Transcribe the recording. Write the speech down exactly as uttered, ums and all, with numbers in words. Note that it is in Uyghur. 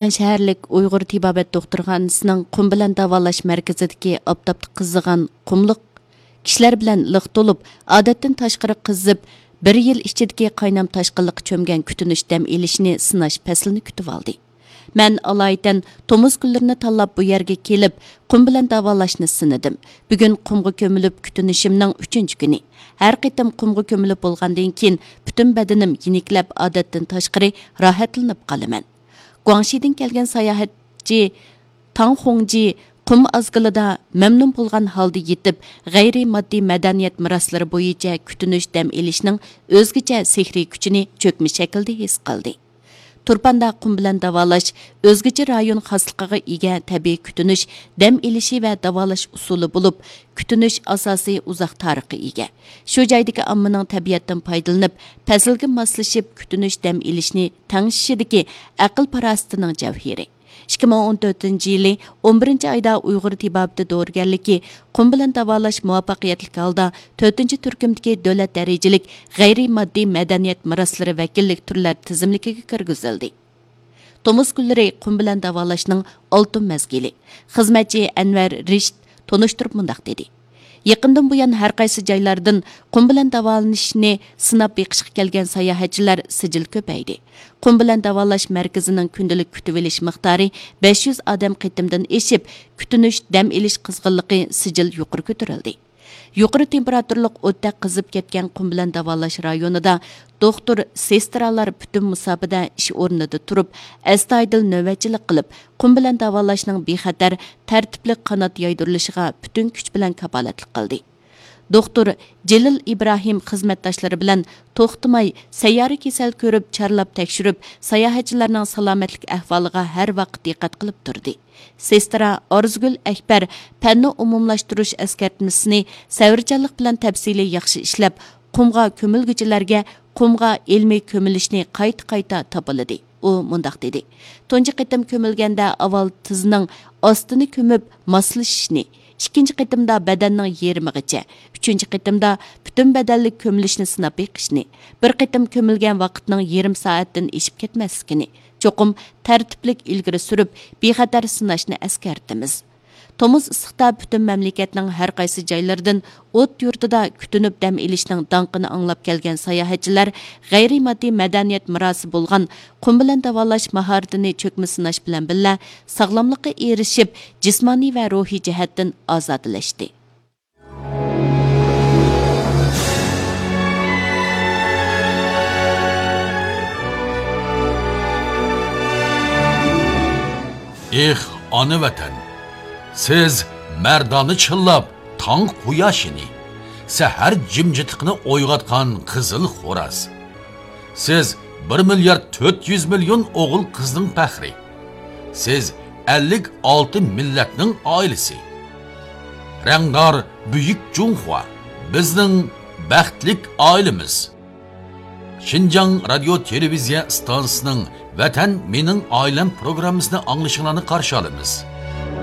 شەھەرلىك ئۇيغۇر تېبابەت دوختۇرخانىسىنىڭ قۇم بىلەن داۋالاش مەركىزىدىكى ئاپتاپتا قىزىغان قۇملۇق كىشىلەر بىلەن لىق تولۇپ، ئادەتتىن تاشقىرى قىزىپ، بىر يىل ئىچىدىكى قاينام تاشقىنلىققا چۆمگەن كۈتۈنۈش دەم ئېلىشنى سىناش پەسلىنى كۈتۈۋالدى. مەن ئالايىتەن تومۇز گۈللىرىنى تاللاپ بۇ يەرگە كېلىپ، قۇم بىلەن داۋالاشنى سىنىدىم. بۈگۈن قۇمغا كۆمۈلۈپ كۈتۈنۈشۈمنىڭ ئۈچىنچى كۈنى. ھەر قېتىم قۇمغا كۆمۈلۈپ بولغاندىن كېيىن، پۈتۈن بەدىنىم يېنىكلەپ، ئادەتتىن تاشقىرى راھەتلىنىپ قالىمەن. گۇاڭشىدىن كەلگەن ساياھەتچى تاڭ خۇڭجى قۇم ئازگىلىدا مەمنۇن بولغان ھالدا يېتىپ، غەيرىي ماددىي مەدەنىيەت مىراسلىرى بويىچە كۈتۈنۈش دەم ئېلىشنىڭ ئۆزگىچە سېھرىي كۈچىنى چۆكمە شەكىلدە ھېس قىلدى. تۇرپاندا قۇم بىلەن داۋالاش ئۆزگىچە رايون خاسلىقىغا ئىگە تەبىئىي كۈتۈنۈش، دەم ئېلىشى ۋە داۋالاش ئۇسۇلى بولۇپ، كۈتۈنۈش ئاساسىي ئۇزاق تارىخقا ئىگە. شۇ جايدىكى ئاممىنىڭ تەبىئەتتىن پايدىلىنىپ، پەسىلگە ماسلىشىپ كۈتۈنۈش دەم ئېلىشنى تەڭشىشىدىكى ئەقىل-پاراسىتىنىڭ جەۋھىرى. ئىككى مىڭ ئون تۆتىنچى يىلى ئون بىرىنچى ئايدا ئۇيغۇر تېبابىتى دورىگەرلىكى قۇم بىلەن داۋالاش مۇۋەپپەقىيەتلىك ھالدا تۆتىنچى تۈركۈمدىكى دۆلەت دەرىجىلىك غەيرىي ماددىي مەدەنىيەت مىراسلىرى ۋەكىللىك تۈرلەر تىزىملىكىگە كىرگۈزۈلدى. تومۇز گۈللىرى قۇم بىلەن داۋالاشنىڭ ئالتۇن مەزگىلى. خىزمەتچى ئەنۋەر رىشىت تونۇشتۇرۇپ مۇنداق دېدى: يېقىندىن بۇيان ھەر قايسى جايلاردىن قۇم بىلەن داۋالىنىشنى سىناپ بېقىشقا كەلگەن ساياھەتچىلەر سىجىل كۆپەيدى. قۇم بىلەن داۋالاش مەركىزىنىڭ كۈندىلىك كۈتۈۋېلىش مىقدارى بەش يۈز ئادەم قېتىمدىن ئېشىپ، كۈتۈنۈش، دەم ئېلىش قىزغىنلىقى سىجىل يۇقىرى كۆتۈرۈلدى. يۇقىرى تېمپېراتۇرىلىق ئوتتەك قىزىپ كەتكەن قۇم بىلەن داۋالاش رايونىدا دوختۇر، سېسترالار پۈتۈن مۇساپىدە ئىش ئورنىدا تۇرۇپ، ئەستايىدىل نۆۋەتچىلىك قىلىپ، قۇم بىلەن داۋالاشنىڭ بىخەتەر، تەرتىپلىك قانات يايدۇرۇلۇشىغا پۈتۈن كۈچ بىلەن كاپالەتلىك قىلدى. دوختۇر جېلىل ئىبراھىم خىزمەتداشلىرى بىلەن توختىماي سەييارە كېسەل كۆرۈپ، چارلاپ تەكشۈرۈپ، ساياھەتچىلەرنىڭ سالامەتلىك ئەھۋالىغا ھەر ۋاقىت دىققەت قىلىپ تۇردى. سېسترا ئارزۇگۈل ئەكبەر پەننى ئومۇملاشتۇرۇش ئەسكەرتمىسىنى سەۋرچانلىق بىلەن تەپسىلىي ياخشى ئىشلەپ، قۇمغا كۆمۈلگۈچىلەرگە قۇمغا ئىلمىي كۆمۈلۈشنى قايتا-قايتا تاپىلىدى. ئۇ مۇنداق دېدى: تۇنجى قېتىم كۆمۈلگەندە ئاۋۋال تىزنىڭ ئاستىنى كۆمۈپ ماسلىشىشنى، ئىككىنچى قېتىمدا بەدەننىڭ يېرىمىغىچە، ئۈچىنچى قېتىمدا پۈتۈن بەدەنلىك كۆمۈلۈشنى سىناپ بېقىشنى، بىر قېتىم كۆمۈلگەن ۋاقىتنىڭ يېرىم سائەتتىن ئېشىپ كەتمەسلىكىنى، چوقۇم تەرتىپلىك ئىلگىرى سۈرۈپ، بىخەتەر سىناشنى ئەسكەرتىمىز. تومۇز ئىسسىقتا پۈتۈن مەملىكەتنىڭ ھەر قايسى جايلىرىدىن ئوت يۇرتىدا كۈتۈنۈپ دەم ئېلىشنىڭ داڭقىنى ئاڭلاپ كەلگەن ساياھەتچىلەر غەيرىي ماددىي مەدەنىيەت مىراسى بولغان قۇم بىلەن داۋالاش ماھارىتىنى چۆكمە سىناش بىلەن بىللە، ساغلاملىققا ئېرىشىپ، جىسمانىي ۋە روھىي جەھەتتىن ئازادىلەشتى. ئېھ، ئانا ۋەتەن! سىز مەردانە چىللاپ تاڭ قۇياشىنى، سەھەر جىمجىتلىقىنى ئويغاتقان قىزىل خوراز. سىز بىر مىليارد تۆت يۈز مىليون ئوغۇل-قىزنىڭ پەخرى. سىز ئەللىك ئالتە مىللەتنىڭ ئائىلىسى. رەڭدار بۈيۈك جۇڭخۇا، بىزنىڭ بەختلىك ئائىلىمىز. شىنجاڭ رادىيو تېلېۋىزىيە ئىستانسىسىنىڭ ۋەتەن مېنىڭ ئائىلەم پروگراممىسىنى ئاڭلىشىڭلارنى قارشى ئالىمىز.